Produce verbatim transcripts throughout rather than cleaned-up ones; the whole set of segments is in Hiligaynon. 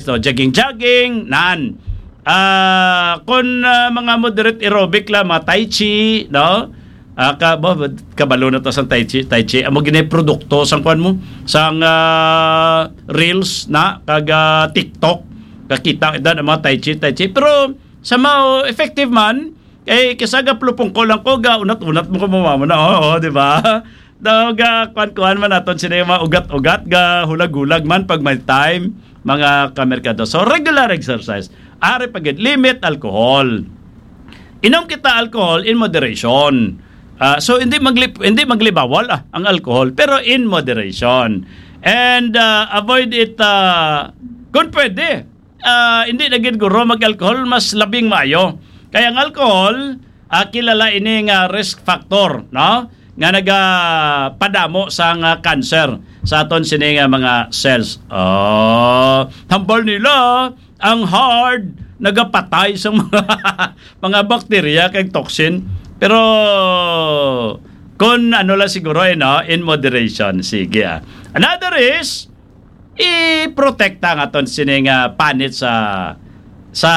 So, jogging-jogging, nan. Ah, kung, ah, mga moderate aerobic lang, mga tai chi, no? Ah, ka-, ba-, ba-, kabalo na to sa tai chi, tai chi. Amo gini produkto sang kuwan mo, sang, ah, reels na, kag, ah, TikTok. Kakita kita ang mga tai chi, tai chi. Pero, somehow, effective man. Kay kisa ga plupong ko lang ko, ga unat-unat mo ko mama na, oo, di ba? Daw ga kuan-kuan man naton sini mga ugat-ugat, ga hulag-hulag man pag may time, mga kamerkado. So, regular exercise. Ari pa gid, limit alcohol. Inom kita alcohol in moderation. Ah, so, hindi magli-, hindi maglibawal, ah, ang alcohol, pero in moderation. And, ah, avoid it, ah, kung pwede, ah, hindi na gid guro mag-alcohol, mas labing maayo. Kaya ang alcohol, ah, kilala ini nga risk factor, no? Nga nagapadamo sang, ah, cancer sa aton sini nga mga cells. Oh, hambal nila, ang hard nagapatay sa mga, mga bakterya kag toxin. Pero kung ano lang siguro, eh, no? In moderation. Sige, ah. Another is, i-protekta ang aton sini nga panit sa, sa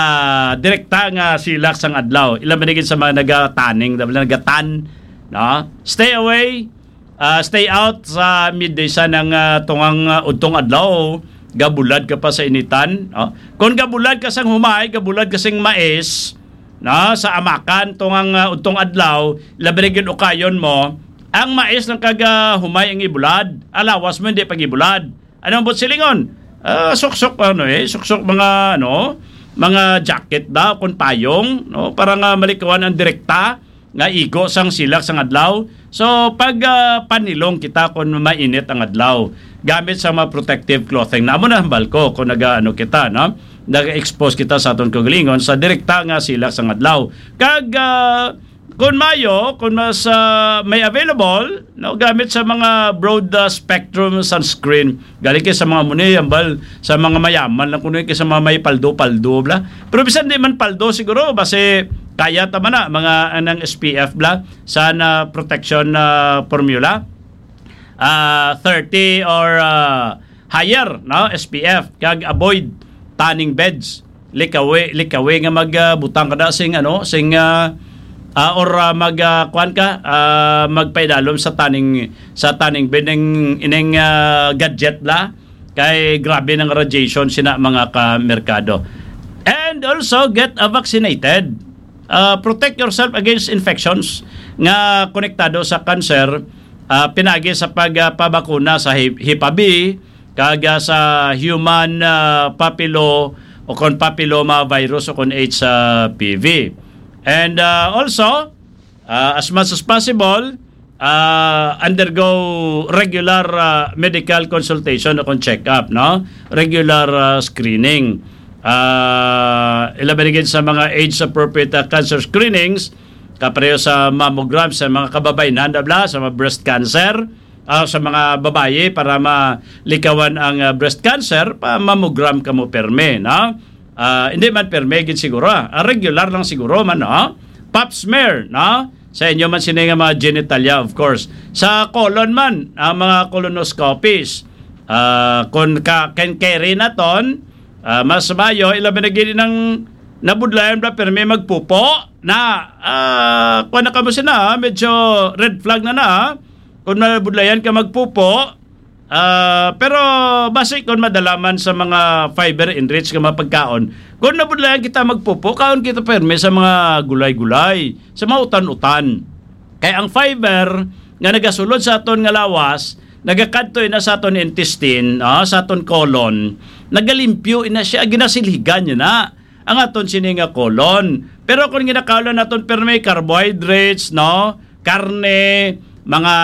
direkta nga silak sang adlaw. Ila man gid sa mga nagataning, nagatan, no? Stay away, ah, stay out sa midday sa nang, ah, tungang, ah, udtong adlaw, gabulad ka pa sa initan, no? Kung gabulad ka sang humay, gabulad ka sing mais, no, sa amakan tungang, ah, udtong adlaw, labi na gid ukayon mo, ang mais lang kag, ah, humay ang ibulad, alawas mo hindi pag-ibulad. Ano ang buot silingon? Ah, suksok, ano, eh, suksok mga, ano, mga jacket ba, kung payong, no? Para nga malikawan ang direkta nga igo sang silak sang adlaw. So, pag, ah, panilong kita kung mainit ang adlaw, gamit sa mga protective clothing. Namo na hambal ko kung naga, ano, kita, no? Naga-expose kita sa aton kaugalingon sa direkta nga silak sang adlaw. Kag, ah, kung mayo, kung mas, ah, may available, no, gamit sa mga broad, ah, spectrum sunscreen. Gali kay sa mga muni, ambal, sa mga mayaman lang kuno kay sa mga may paldo-paldo, bla. Pero bisan di man paldo siguro, basi kaya ta man na, mga anang S P F, bla, sa na protection, ah, formula. Ah, thirty or, ah, higher, no, S P F, kag avoid tanning beds. Likawi, likawi nga mag, ah, butang ka na sing, ano, sing, ah, ah, or, ah, mag, ah, kuwan ka, ah, magpaidalom sa tanning, sa tanning bed ning ining, ah, gadget la. Kay grabe ng radiation sina mga kamerkado. And also get, ah, vaccinated. Ah, protect yourself against infections nga konektado sa cancer, ah, pinagi sa pagpabakuna sa hep-, Hepa B, kag, ah, sa human, ah, papillo o kon papilloma virus o kon H P V. And, ah, also, ah, as much as possible, ah, undergo regular, ah, medical consultation o kon check-up, no? Regular, ah, screening. Ah, ilabi na gid sa mga age-appropriate, ah, cancer screenings, kapareho sa mammogram sa mga kababayen, bla, sa mga breast cancer, ah, sa mga babayi para malikawan ang, ah, breast cancer, pa mammogram kamo permi, no? Ah, hindi man permi gid siguro, ah. Ah, regular lang siguro man, no? Pap smear, no? Sa inyo man sini nga mga genitalia, of course. Sa colon man, ang mga colonoscopies. Ah, kung ka, can carry na ton, ah, mas mayo, ilabi na gid nang nabudlayan bla permi magpupo, na, ah, kuwan na kamo sina, ah, medyo red flag na na, ah. Kung nabudlayan ka magpupo, ah, pero basi kung madala man sa mga fiber enriched nga mga pagkaon, kung nabudlayan kita magpupo, kaon kita permi sa mga gulay-gulay, sa mga utan-utan. Kay ang fiber nga nagasulod sa aton nga lawas, nagakadto ina sa aton intestine, ah, sa aton colon, nagalimpyo ina siya, ginasilhigan niya na ang aton sini nga colon. Pero kung ginakaon naton permi carbohydrates, no, karne, mga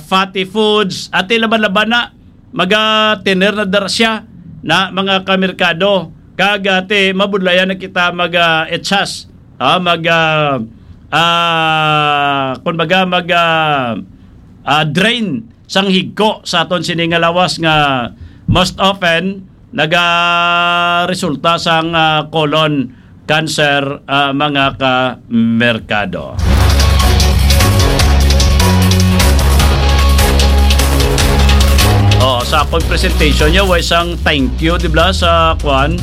fatty foods, ati laban-laban na, maga-tener na dara siya na mga kamerkado. Kag ati, mabudlayan na kita mag, ah, echas, ah, mag, ah, ah, kumbaga, mag, ah, ah, drain sang higko sa aton sini nga lawas nga most often nagaresulta sang, ah, colon cancer, ah, mga kamerkado. Oh, sa akong presentation niya, way sang thank you, di ba, sa kwan?